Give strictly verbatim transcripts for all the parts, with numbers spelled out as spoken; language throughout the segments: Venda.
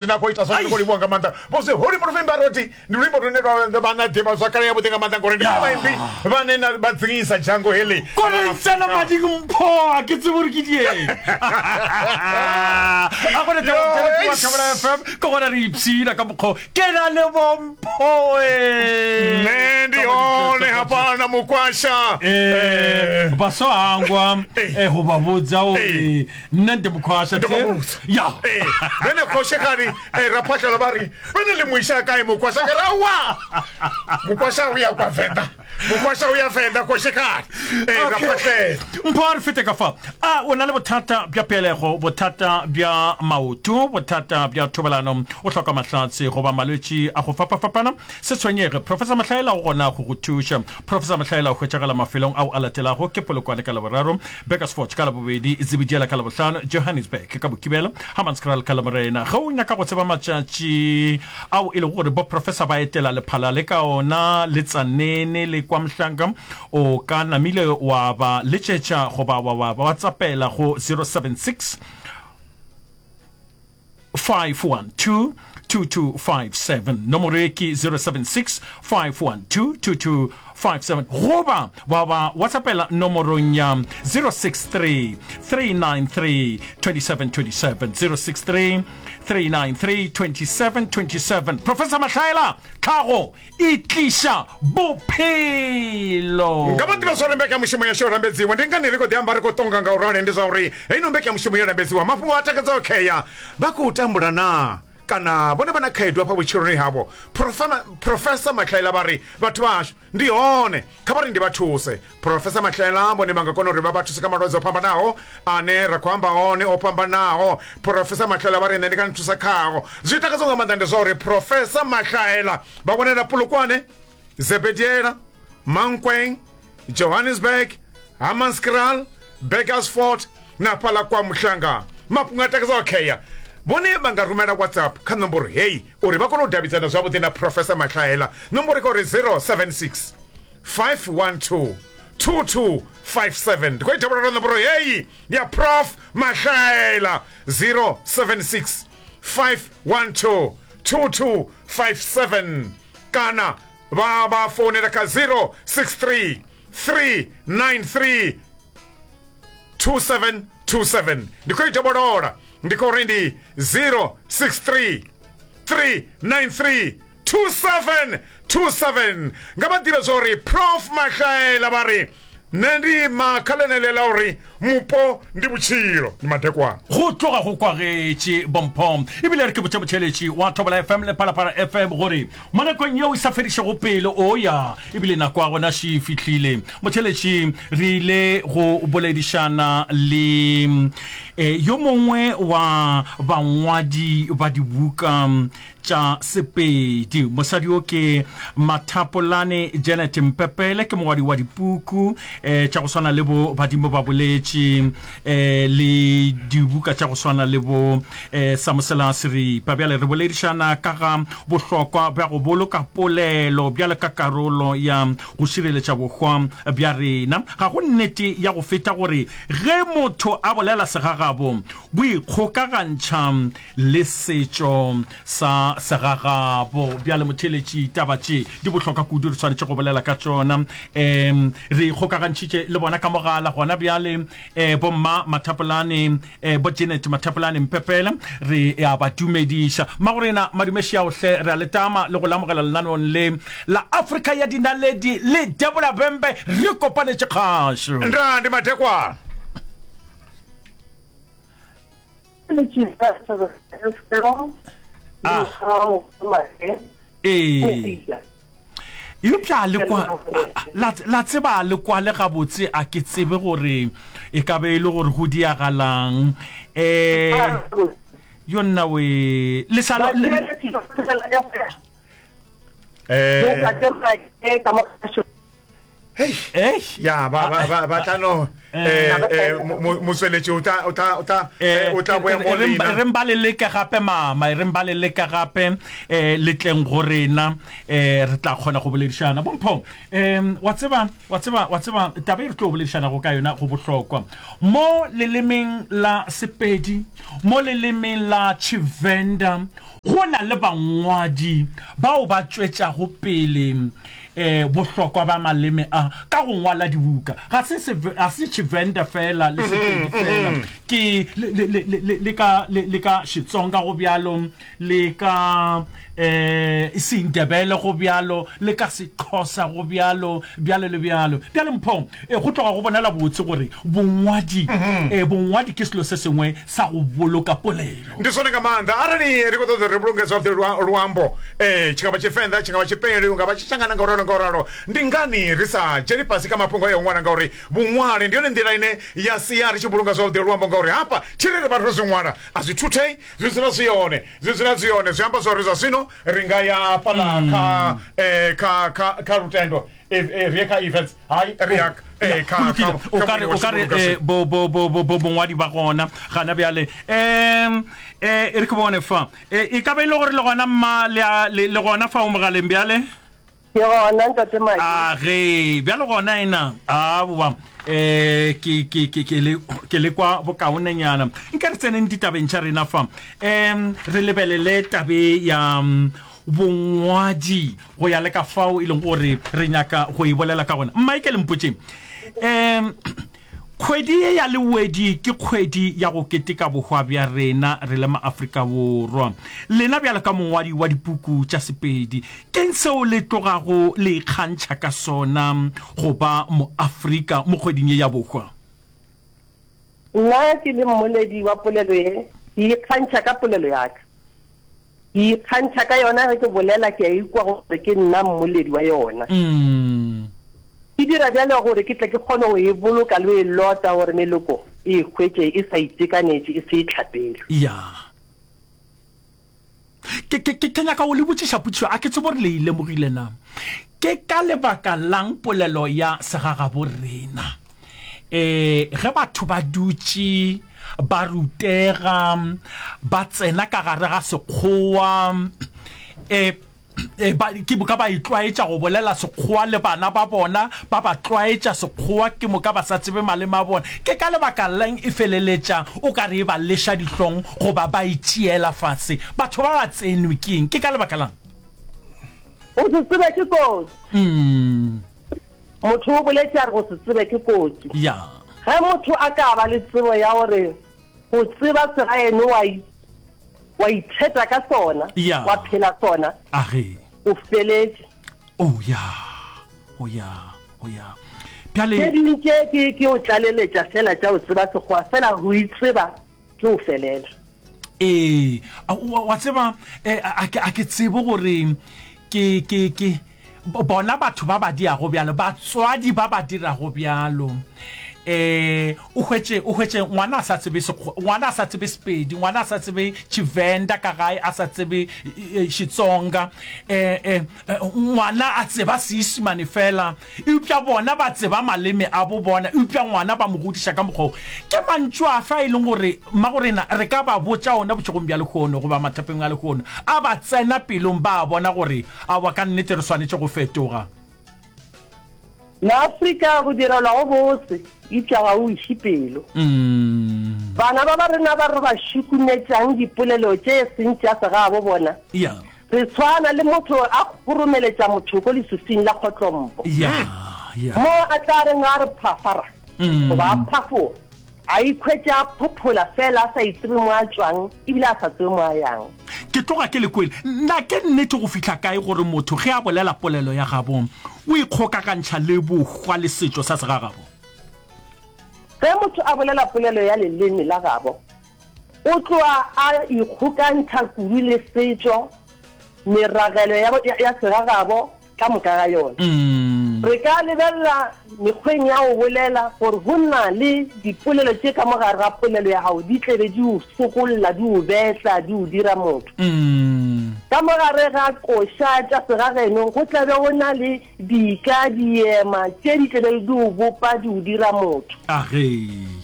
Na khou ita zwone, ndi khou livhuwa nga maanḓa. Vho zwi holi muruvimba roti ndi luimbo lune lwa vha na ḓivha zwakale ya vhuḓi nga maanḓa, ngori ndi vhone vhaimbi vhane na vha dzingisa dzhango heḽi. Kore tsena mading mpho a ke tsebe gore ke dieng a gone wa Thobela F M ke gona re ipshina ka mokgwa ke na le bomphoe. Nṋe ndi hone hafha na mukwasha. Eh, ba so hangwa eh go ba botsa gore nna ndi mokhwasha. Ndo vha vhudza. Ya. Eh, vhene khoshekadi eh, raphahlelo vha ri vhene ḽi muisa kae mukwasha? Ke ra wa mukwasha u ya kwa Venḓa, mukwasha u ya Venḓa, khoshekadi eh, raphahlelo. Mpho, a re fete ka fa. A o na le bothata bja pelego, bothata bja maoto, bothata bja thobalano, o hloka mahlatse goba malwetši a go fapafapana? Se tshwenyege, Professor Mahlaela o gona go go thuša. Professor Mahlaela o hwetšagala mafelong ao a latelago: ke Polokwane ka Laboraro, Burgersfort ka Labobedi, Zebediela ka Labohlano, Johannesburg ka Mokibelo, Hammanskraal ka Lamorena. Ge o nyaka go tseba matšatši ao e lego gore bo professor ba etela Lephalale ka ona, le Tsanene le kwa Mhlanga, o ka namile wa ba letšetša goba wa wa whatsappela go zero seven six five one two two two five seven. Nomoro e ke zero seven six five one two two two five seven, goba wa ba whatsappela nomorong ya zero six three three nine three two seven two seven, zero six three three nine three two seven two seven. Professor Mahlaela, tlhago e tliša bophelo. Nga vha ḓivha zwa uri mbekanyamushumo yashu yo lambedziwa ndi ngani ri khou ḓi amba, ri khou tonga nga u rali, ndi zwa uri heino mbekanyamushumo yo lambedziwa mafhungo a takadzaho khea vha khou tambula na kana vhone vha na khaedu hafha vhutshiloni havho. Profema- professor Mahlaela vha ri vhathu vhashu ndi hone, kha vha ri ndi vha thuse. Professor Mahlaela vhone vha nga kona uri vha vha thuse kha malwadze o fhambanaho ane ra khou amba one o fhambanaho. Professor Mahlaela vha ri nṋe ndi nga ni thusa khao. Zwi takadzaho nga maanḓa ndi zwa uri Professor Mahlaela vha wanela Polokwane, Zebediela, Mankweng, Johannesburg, Hammanskraal, Burgersfort na fhaḽa kwa Muhlanga. Mafhungo a takadzaho khea, vhone vha nga rumela WhatsApp kha nomboro heyi uri vha kone u davhidzana zwavhuḓi na Professor Mahlaela. Nomboro kha uri zero seven six five one two two two five seven. Ndi khou ita vhulalo, nomboro heyi ya Prof Mahlaela, zero seven six five one two two two five seven, kana vha vha founela kha zero six three three nine three two seven two seven. Ndi khou ita vholola, ndi khou ri ndi zero six three three nine three two seven two seven. Nga vha ḓivhe zwa uri Prof Mahlaela vha ri nṋe ndi ima kha ḽeneḽe ḽa uri mupo ndi vhutshilo. Ndi madekwana. Go tloga go kwagetše bompho, ebile re ke botša motšheletši wa Thobela F M le Phalaphala F M gore mo nakong yeo e sa fedišego pele o ya ebile nako ya gona še e fihlile. Motšheletši, re ile go boledišana le eh, yo mongwe wa bangwadi ba dibuka tša Sepedi. Mosadi o ke Mathapolane Janet Mpepele, ke mongwadi wa dipuku eh, tša go swana le bo Badimo ba Boletše eh, le dibuka tša go swana le bo eh, Samosela Seripa. Bjale re boledišana ka ga bohlokwa bja go boloka polelo bjale ka karolo ya go šireletša bohwa bja rena. Ga go nnete ya go feta gore ge motho a bolela segagabo, bo ikgokagantšha le setšo sa segagabo. Bjale motheletši, taba tše di bohlokwa kudu, re swanetše go bolela ka tšona. um re ikgokagantšhitše le bona ka mogala gona bjale, um bomma Mathapolane, um bo Janet Mathapolane Mpepele, re ya ba dumediša. Mmagorena, madumešiaohle, re a letama le go lamogela lenaneong le la Afrika ya Dinaledi le Debola Bembe, re kopanetše kgašo. Nda ndi madekwana. Ah. Ee, eupša le kwa la, la tseba le kwa le gabotse, a ke tsebe gore e ka be e le gore go diagalang um yo nna we le sa le- eh hei. Ei. Ya ba ba ba ba tla no eh eh mo- motsweletši o tla o tla o tla eh, o tla boya mo lena. Re mba le leke gape, mama, e re mba le leke gape um le tleng go rena, um re tla kgona go boledišana. Bompho, um wa tseba wa tseba wa tseba taba e re tlo boledišanago ka yona go bohlokwa mo lelemeng la Sepedi, mo lelemeng la Tshivenda. Go na le bangwadi bao ba tšwetšago pele eh bohlokwa ba maleme a ka go ngwala dibuka. Ga se ga se Tshivenda fela le Sepedi fela, ke le le le le ka le ka Xitsonga go bjalo, le ka eh Sindebele go bjalo, le ka Sexhosa go bjalo, bjalo le bjalo. Bjale Mpho, go tloga go bonala botse gore bongwadi eh bongwadi ke selo se sengwe sa go boloka polelo. Ndi zwone nga maanḓa arali ri khou ṱoḓa ri vhulunge zwavhuḓi luambo, eh tshi nga vha Tshivenḓa, tshi nga vha Tshipedi, nga vha Tshitshangana nga uralo nga uralo, ndi ngani ri sa dzheni fhasi kha mafhungo a u ṅwala? Ngauri vhuṅwali ndi yone nḓila ine ya sia ri tshi vhulunga zwavhuḓi luambo, ngauri hafha tshire ri vha ro zwi ṅwala a zwi thuthei, zwi dzula zwi hone, zwi dzula zwi hone. Zwi amba zwa uri zwa zwino ri nga ya fhaḽa kha eh kha kha kha lutendo, ri ye kha events, hai ri ya o kare o kare bo bo bo bo bo bongwadi ba gona gana bjale. Um eh re ke bone fa e ka ba ile gore le gona mma le le gona fa o mogaleng bjale. Ke gona ntate Maki. A ge bjale gona ena a boa eh ke ke ke ke le ke le kwa bokaonenyana. Nka re tseneng ditabeng tša rena fa, em re lebelele tabe ya bongwadi go ya le ka fao e leng gore re nyaka go e bolela ka gona. Michael Mpotše, em kgwedi ye ya Lewedi ke kgwedi ya go keteka bohwa bja rena re le maAfrika Borwa. Lena bjalo ka mongwadi wa dipuku tša Sepedi, keng seo le tlogago le ikgantšha ka sona go ba moAfrika mo kgweding ye ya bohwa? Nna ke le mmoledi wa polelo ye, ke ikgantšha ka polelo ya ka. Ke ikgantšha ka yona ge ke bolela, ke a ikwa gore ke nna mmoledi wa yona. Mm. Ke dira bjale gore ke tle ke kgone go e boloka le e lota gore meloko e hwetše e sa itekanetše, e se e tlhapelwe. Ya. Ke ke ke nyaka go le botšiša potšišo, a ke tsebe gore le e lemogile na. Ke ka lebaka lang polelo ya segagabo rena eh ge batho ba dutše ba rutega ba tsena ka gare ga sekgowa, eh e ba ke moka ba itlwaetša go bolela sekgowa le bana ba bona, ba ba tlwaetša sekgowa, ke moka ba sa tsebe maleme a bona. Ke ka lebaka lang e feleletša o ka re e ba leša dihlong goba ba itšiela fase? Batho ba ba tsenwe keng? Ke ka lebaka lang? Go se tsebe ke kotsi. Mm. Motho o boletše a re go se tsebe ke kotsi. Ya. Ge motho a ka ba le tsebo ya gore go tseba segaeno wa wa itheta ka sona, wa phela sona, age o feletše. Oh ya, oh ya, oh ya. Bjale tše dingwe tše ke ke o tlaleletša fela tša o tseba sekgowa, fela go itseba ke o felela. Ee, wa tseba, a ke tsebe gore ke ke ke bona batho ba ba diago bjalo, batswadi ba ba dirago bjalo. Eh o hwetše o hwetše ngwana a sa tsebe ngwana a sa tsebe Sepedi, ngwana a sa tsebe Tshivenda ka gae, a sa tsebe Xitsonga, eh eh ngwana a tseba Seisimane fela, eupša bona ba tseba maleme a bo bona, eupša ngwana ba mo godiša ka mokgwa. Ke mantšu a fa e leng gore mmagorena re ka ba botša ona bošegong bja lehono goba mathapeng a lehono, a ba tsena pelong ba bona gore aowa ka nnete re swanetše go fetoga. Maafrika go direlwa go botse, eupša ga o iše pelo. Mm. Bana ba ba rena ba re ba šukumetšang dipolelo tše seng tša segabo bona. Yeah. Re tshwana le motho a kgoromeletša motho ko leswiswing la kgotlompo. Yeah, yeah. Mo a tla reng a re phafara, Mm. goba a phafoga, a ikhwetša a phophola fela a sa itsebe mo a tšwang, ebile a sa tsebe mo a yang. Ke tloga ke le kwele. Nna ke nnete go fihla kae gore motho ge a bolela polelo ya gabo o ikgokagantšha le bohwa le setšo sa segagabo? Ge motho a bolela polelo ya leleme la gabo, o tloa a ikgokantšha kudu le setšo, meragelo ya, ya, ya segagabo ka moka ga yona. Mm. Re ka lebelela mekgweng ya go bolela gore go na le dipolelo tše ka mogare ga polelo ya gago di tlebe di o sokolla, di o betla, di o dira motho. Mm. Ka mogare ga koša tša segageno go tlabe go na le dika, diema tše di tlebe di o bopa, di o dira motho. Age.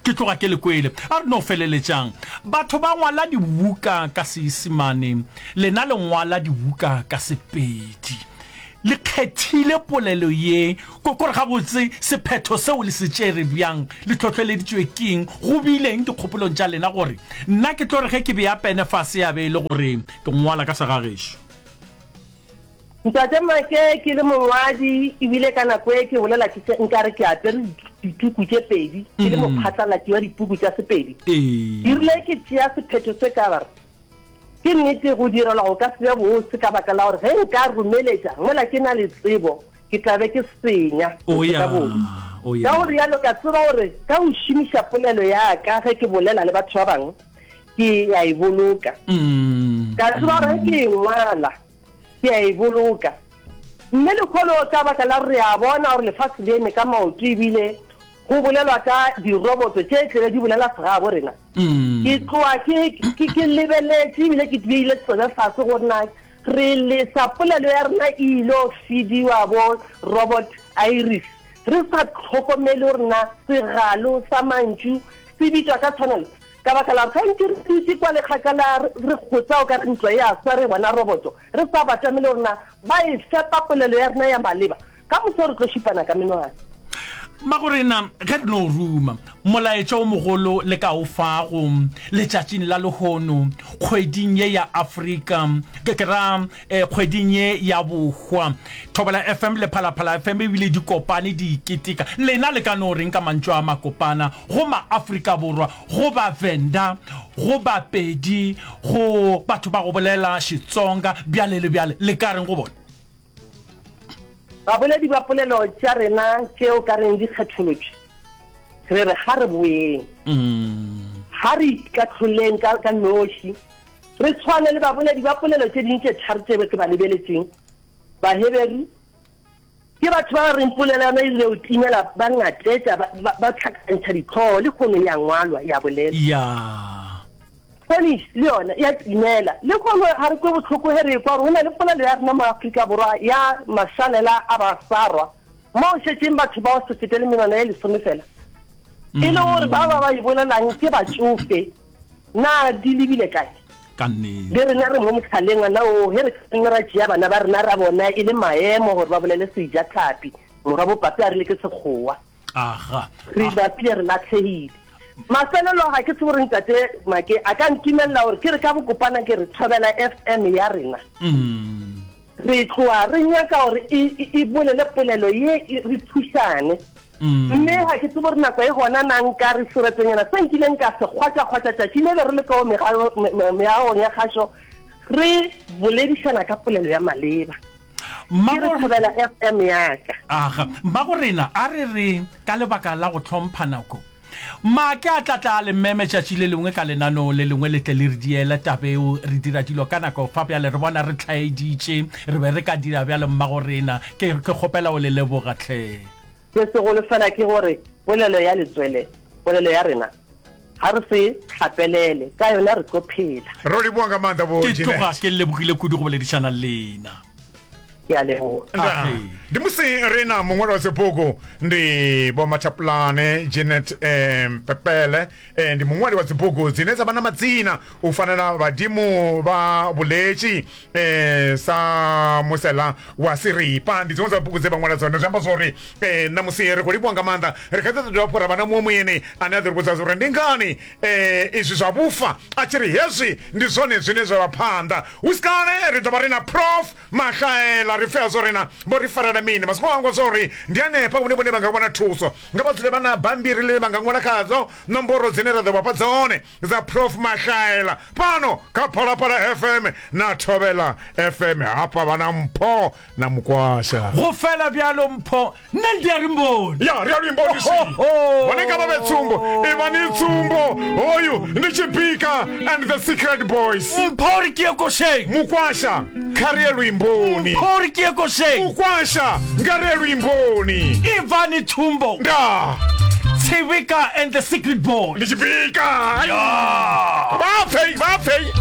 Ke tloga ke le kwele. A re no feleletšang. Batho ba ngwala dibuka ka Seisimane, lena le ngwala dibuka ka Sepedi. Le kgethile polelo ye, ko kore gabotse sephetho seo le se tšere bjang, le tlhohleleditšwe keng, go bileng dikgopolong tša lena gore nna ke tlo re ge ke bea pene fase ya be e le gore ke ngwala ka segagešo? Ntate Make, ke le mongwadi ebile ka nako e ke bolela ke nkare ke apere dituku tše pedi, ke le mophatlalatši wa dipuku tša Sepedi. Erile ke tšea sephetho se ka bare ke nnete go direlwa go ka se be bose, ka baka la gore ge nka romeletša mola ke na le tsebo ke tla be ke senya. Ka go rialo ka tseba gore ka go šomiša polelo ya ka ge ke bolela le batho ba bangwe ke a e boloka. Ka tseba gore ge ke e ngwala ke a e boloka. Mme lekgolo ka baka la re a bona gore lefase le eme ka maoto ebile go bolelwa ka diroboto tše tlele di bolela segabo rena. Ke tloa ke lebeletše ebile ke beile tsone fase gore na re lesa polelo ya rena e ilo fidiwa bo robot iris, re sa tlhokomele gore na segalo sa mantšu se bitswa ka tshwanelo. Ka baka la gore gantši re dutše kwa lekgakala re kgotsa o ka re ntlo ya swa re bona roboto, re sa batamele gore na ba e fepa polelo ya rena ya maleba, ka moso re tlo šupana ka menwana. Magorena ge re no ruma molaetša o mogolo le ka o fago letšatšing la lehono kgweding ye ya Afrika, ke ke ra kgweding ye ya bohwa, Thobela F M le Phalaphala F M ebile di kopane di keteka, lena le ka no reng ka mantšu a makopana go ma-Afrika Borwa, go ba-Venda, go Bapedi, go batho ba go bolela Xitsonga, bjale le bjale, le ka reng go bona? Baboledi ba polelo tša rena tšeo ka reng di kgetholotše, re re ga re boeng, ga re ikatlholeng ka ka noši, re tshwane le baboledi ba polelo tše ding tše tharo tše ke ba lebeletseng. Baheberu ke batho ba reng polelo ya yona e ile o timela, ba ngatetša, ba tlhakantšha ditlhogo, le kgono ya ngwalwa ya bolela. Spanish le yona ya timela, le kgono ga re kwe botlhoko ge re ekwa gore go na le polelo ya rena mo Afrika Borwa ya mašalela a basarwa mo šetšeng batho bao se fetele menwana ye lesome fela, e le gore ba ba ba e bolelang ke batšofe, na di lebile kae? Le rena re mo motlhaleng ana o ge re nne ra tšea bana ba rena ra bona e le maemo gore ba bolele sejatlhapi, morwa bopapi a rile ke sekgowa, re bapile re latlhegile. Mafelelo ga ke tsebe gore ntate Make a ka ntumelela gore ke re ka bokopana ke re Thobela F M ya rena. Re tloa re nyaka gore e bolele polelo ye re thušane. Mme ga ke tsebe gore nako e gona na nka re seretsenyana se nkileng ka se kgwatša-kgwatša tšatši le be re le ka meagong ya kgašo re boledišana ka polelo ya maleba. Ke re Thobela F M ya ka. Aga, mmagorena a re re ka lebaka la go tlhompha nako, Make a tla tla le meme tšatši le lengwe ka lenaneo le lengwe le tle le re diela tabeo, re dira dilo ka nako fa bjale re bona re tlhaeditše, re be re ka dira bjale mmagorena, ke ke kgopela o le leboga tlhe. Se segolo fela ke gore polelo ya letswele, polelo ya rena ga re se tlhapelele ka yona, re tlo phela. Ro leboga nga maanḓa vho Ke tloga ke lebogile kudu go boledišana le lena. Ke a leboga. Ndi musi re na muṅwali wa dzibugu ndi Vho Mathapulane Jeanette Pepele, ndi muṅwali wa dzibugu dzine dza vha na madzina u fana na Vhadimu vha Vhuletshi, sa Musela wa Siripa, ndi dziṅwe dza bugu dze vha ṅwala dzone. Zwi amba zwori ṋamusi ri khou livhuwa nga maanḓa, ri kha ḓi dovha hafhu ra vha na muṅwe muyeni ane a ḓo ri vhudza uri ndi ngani izwi zwa vhufa a tshi ri hezwi ndi zwone zwine zwa vha phanḓa. Hu si kale ri ḓo vha ri na Prof Mahlaela, ri pfea zwo rena vho ri farela mini masiko hangwa zwo ri ndi hanefha hune vhone vha nga wana thuso, nga vha dzule vha na bambiri ḽine vha nga ṅwala khadzo nomboro dzine ra ḓo vha fha dzone dza Prof Mahlaela fhano kha Phalaphala F M na Thobela F M. Hafha vha na Mpho na Mukwasha. Go fela bjalo Mpho, nne ndi a ri mboni. Ya ri a luimboni si vhone nga vha vhe tsumbo, ivha ni tsumbo. Hoyu ndi Tshibika and the Secret Boys. Mpho ri ke ye košeng. Mukwasha kha ri ye luimboni. Mpho ri ke ye košeng. Mukwasha nga ri ye luimboni. Ivani tsumbo. Nda Tshibika and the Secret Boys. Ndi Tshibika. Vha pfei, vha pfei.